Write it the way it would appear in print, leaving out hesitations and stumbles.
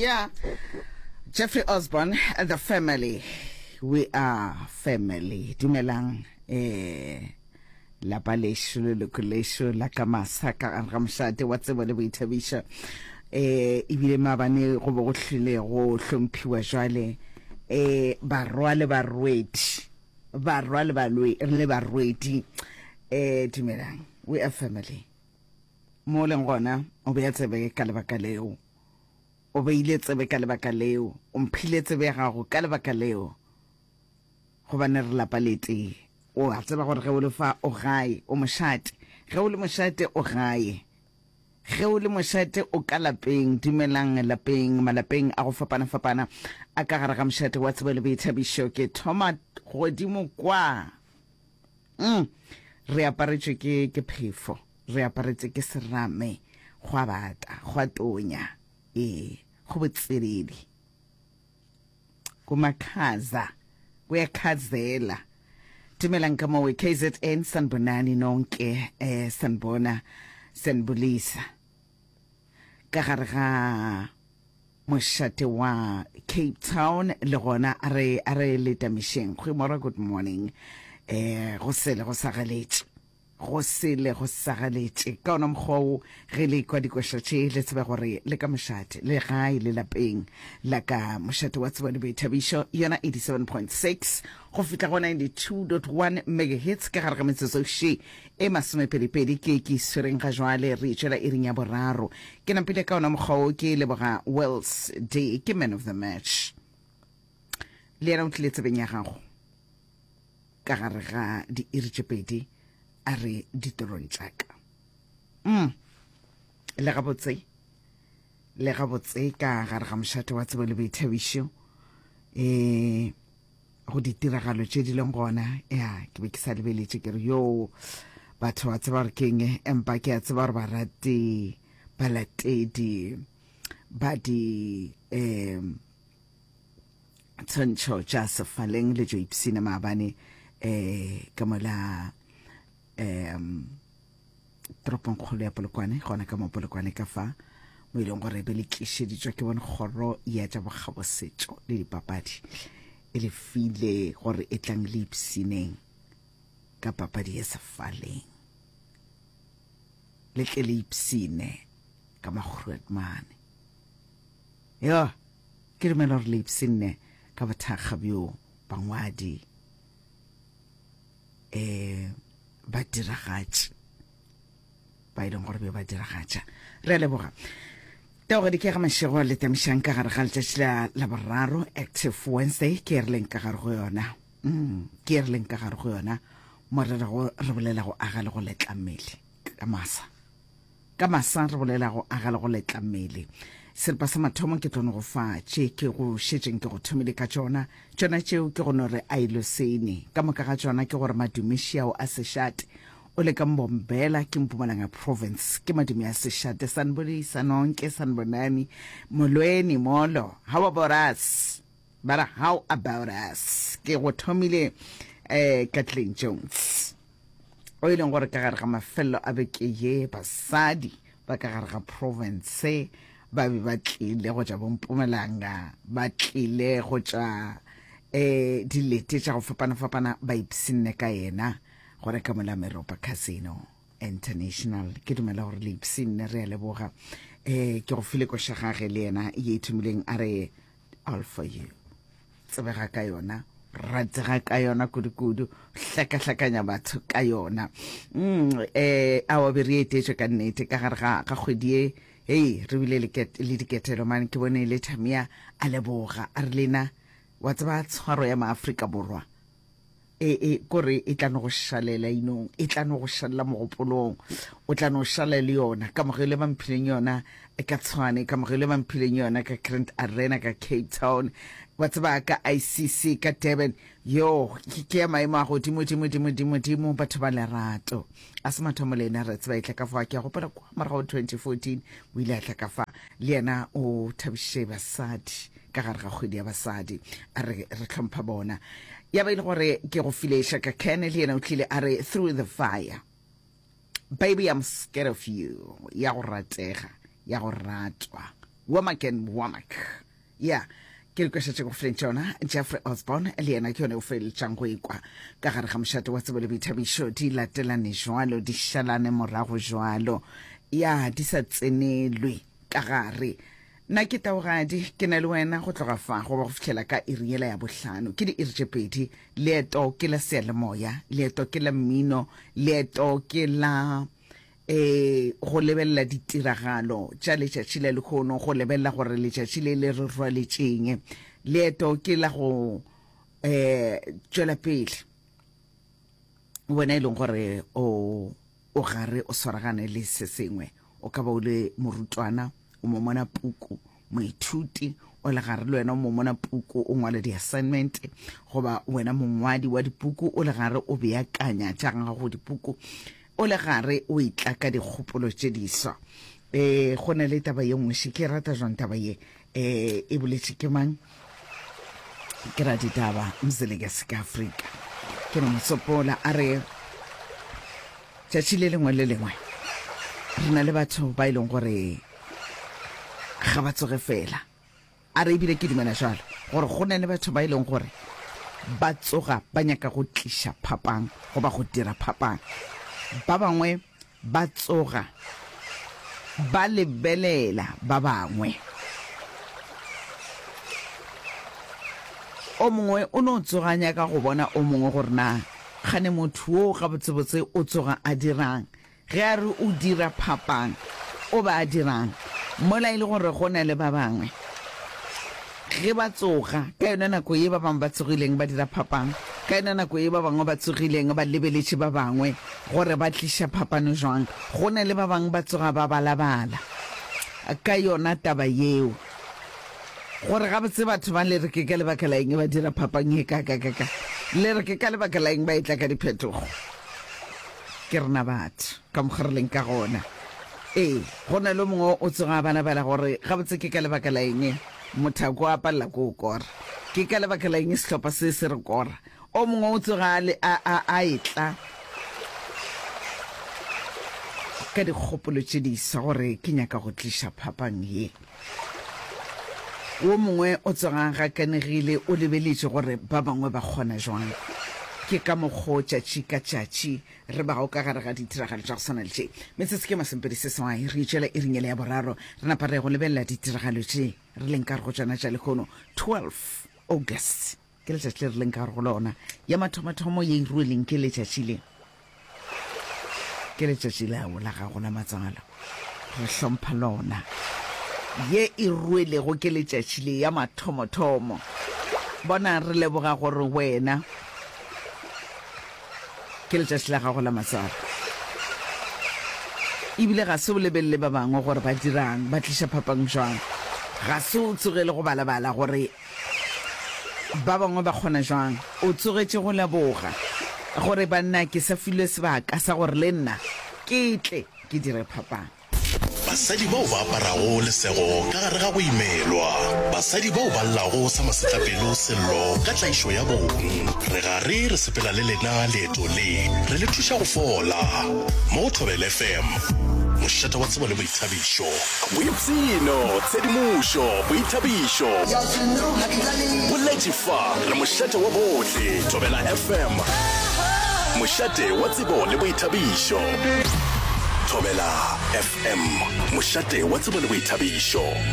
Yeah. Jeffrey Osborne and the family. We are family. Dumelang eh lapa lešo leloko lešo la ka masa ka gare ga mošate wa tsebo le boithabišo eh ebile maabane go bo go hlile go hlomphiwa jwale eh barwa le barwedi barwa le balwe le barwedi eh dumelang we are family Mo o leng gona, o bea tsebe ka lebaka leo. O beile tsebe ka lebaka leo. O mphile tsebe ya gago ka lebaka leo. Gobane re lapa le tee. O a tseba gore ge o le fa, o gae. O mošate. Ge o le mošate, o gae. Ge o le mošate, o ka lapeng. Dumelang lapeng, malapeng a go fapana-fapana a ka gare ga mošate wa tsebo le boithabišo. Ke thoma godimo kwa. Mm. Re aparetšwe ke, ke phefo. Re aparetše ke serame. Go a bata, go a tonya. Ee, go botselele. Kumakhaza, kuyakhazela. Dumelang ka mowe KZN sanibonani nonke eh sanibona sanibulisa. Ka gare ga Mošate wa Cape Town le gona a re a re letamišeng. Goeiemôre, good morning. Eh go sele go sagaletše. Go sele go sagaletše. Ka ona mokgwa wo ge le kwa dikoša tše le tsebe gore le ka mošate le gae le lapeng la ka mošate wa tsebo le boithabišo yona 87.6 go fihla go 92.1 megahertz ka gare ga metsotso še e masomepedipedi ke ke swereng ga jwale re tšwela iring ya boraro ke napile ka ona mokgwa wo ke leboga Wells Day ke man of the match le yena o tlile tsebeng ya gago ka gare ga diiri tše pedi a re ditorong tša ka mm. le gabotse le gabotse ka gare ga mošate wa tsebo le boithabišo um go ditiragalo tše di leng gona ya ke be ke sa lebeletše ke re yo batho ba tseba gore keng empa ke a tseba gore barati balatedi ba di um tshwantšho tša sefaleng le tšo ipsina maabane um ka mola um toropongkgolo ya Polokwane, gona ka mo Polokwane ka fa mo e leng gore be le tlišeditšwa ke bone kgoro ya tša bokgabosetšo le dipapadi e le file gore e tlang le ipsineng ka papadi ya sefaleng le tle le ipsine ka makgruetmane yo ke dumela gore le ipsinne ka bothakga bjo bangwadi um badiragatši ba e leng gore be ba diragatša re a leboga taogedi ke ga mašego le tamišang ka gare ga letšatši la la boraro active wednesday ke re leng ka gare go yona mm, ke re leng ka gare go yona mo re rego re bolela go aga le go letla mmele ka masa Ka masa re bolela go aga le go letla mmele. Seripa sa mathomo ke tlo no go fa tše ke go šetšeng ke go thomile ka tšona. Tšona tšeo ke go no re ailosene. Ka moka ga tšona ke gore madume šiao a sešate. O le ka Mbombela ke Mpumalanga Province. Ke madume a sešate. Sanibonisa nonke, sanibonani. Molweni, molo. How about us? Ba re how about us? Ke go thomile eh Kathleen Jones. O e leng gore ka gare ga mafelelo a beke ye basadi ba ka gare ga province ba be ba tlile go tša bompumelanga ba tlile go tša um dilete tša go fapana-fapana ba ipshinne ka yena go reka mola meropa casino international ke dumela gore le ipshinne re a leboga um ke go file koša gage le yena ye e thomileng a re all for you tsebega ka yona ratega ka yona kudu-kudu hlakahlakanya batho ka yona mm, eh awa be re etetšwe ka nnete ka gare ga ga kgwedi ye hei re bile le diketelo mane ke bone le thamia a leboga a re lena wa tseba tshwaro ya maafrika borwa E, e, kore e tla no go šalela inong, e tla no go šalela mogopolong, o tla no šala le yona. Kamogelo e ba mphileng yona ka Tshwane, kamogelo e ba mphileng yona ka Grand Arena ka Cape Town, wa tseba ka ICC ka Durban, yo ke, ke ya maemo a godimo, dimo, dimo, dimo, dimo, batho ba lerato. A se mathomo le ena re tseba e tla ka fa, ke a gopola kwa morago 2014 o ile a tla ka fa, le yena o thabišitše basadi. ka gare ga kgwedi ya basadi a re re hlompha bona ya ba e le gore ke go file shaka ken le yena o tlile a re through the fire baby i'm scared of you ya go ratega ya go ratwa. Womack and Womack. Ya, ke le kwešetše go feleng tšona. Jeffrey Osborne le yena ke yone o feletšang go ekwa ka gare ga mošate wa tsebo le boithabišo. Di latelane jwalo, di šalane morago jwalo. Ya, di sa tsenelwe ka gare. Nna ke Taugadi, ke na le wena go tloga fa go ba go fihlela ka iri yela ya bohlano. Ke diiri tše pedi. Leeto ke la seyalemoya, leeto ke la mmino, leeto ke la e go lebelela ditiragalo tša letšatši la lehono, go lebelela gore letšatši le le re rwaletšeng. Leeto ke la go um tšwela pele wena e leng gore o o gare o swaragane le se sengwe. O ka ba o le morutwana, o momona puku, moithuti, o le gare le wena o momona puku, o ngwala di-assignment, goba wena mongwadi wa dipuku o le gare o beakanya tša gago dipuku, o le gare o etla ka dikgopolo tše diswa. E, go na le taba ye nngwe še, ke rata jwang taba ye, e, e boletše ke mang? Ke raditaba Mzilikazi ka Afrika. Ke no mo tsopola a re, Tšatši le lengwe le lengwe re na le batho ba e leng gore ga ba tsoge fela. A re ebile ke dumela jalo gore go na le batho ba e leng gore ba tsoga ba nyaka go tliša phapang goba go dira phapang. Ba bangwe ba tsoga ba lebelela ba bangwe. O mongwe o no tsoga a nyaka go bona o mongwe gore na kgane motho wo gabotsebotse o tsoga a dirang. Ge a re o dira phapang, o ba a dirang? Mola e le gore go na le ba bangwe ge ba tsoga ka yona nako ye ba bangwe ba tsogileng ba dira phapang, ka yona nako ye ba bangwe ba tsogileng ba lebeletše ba bangwe gore ba tliša phapano jwang, go na le ba bangwe ba tsoga ba balabala ka yona taba yeo. Gore gabotse batho ba le re ke ka lebaka la eng ba dira phapang ye kaakakaka, le re ke ka lebaka la eng ba etla ka diphetogo. Ke rena batho, ka mokgwa re leng ka gona. Ee, go na le o mongwe o tsoga a balabala gore gabotse ke ka lebaka la eng mothako a palela ko o kora. Ke ka lebaka la eng sehlopha se se re kora. O mongwe o tsoga a, a, a, a etla ka dikgopolo tše diswa gore ke nyaka go tliša phapang ye. Wo mongwe o tsoga a gakanegile o lebeletše gore ba bangwe ba kgona jwang. Ke ka mokgo tšatši ka tšatši re bago ka gare ga ditiragalo tša go swana le tše. Metsotso ke masomepedi seswai re itšwela iring yela ya boraro re napa re ya go lebelela ditiragalo tše re leng ka gare go tšona tša lehono 12 August. Ke letšatši le re leng ka gare go lona. Ya mathomathomo ye e rueleng ke letšatši le. Ke letšatši lao la gago la matswalo. Re hlompha lona. Ye e ruelego ke letšatši le ya mathomothomo. Bona, re leboga gore wena ke letšatši la gago la matswalo. Ebile ga se o lebelele ba bangwe gore ba dirang, ba tliša phapang jwang. Ga se o tsogele go balabala gore Ba bangwe ba kgona jwang? O tsogetše go leboga gore banna ke sa filwe sebaka sa gore le nna ke tle ke dire phapang. Basadi bao ba aparago lesego ka gare ga go imelwa. Basadi bao ba llago sa masetlapelo sello ka tlaišo ya bong. Re gare re sepela le lena leeto le, re le thuša go fola. Mo go Thobela FM, mošate wa tsebo le boithabišo. Boipshino, tshedimošo, boithabišo. Boletše fa, re mošate wa bohle. Thobela FM, mošate wa tsebo le boithabišo. Thobela FM, mošate wa tsebo le boithabišo.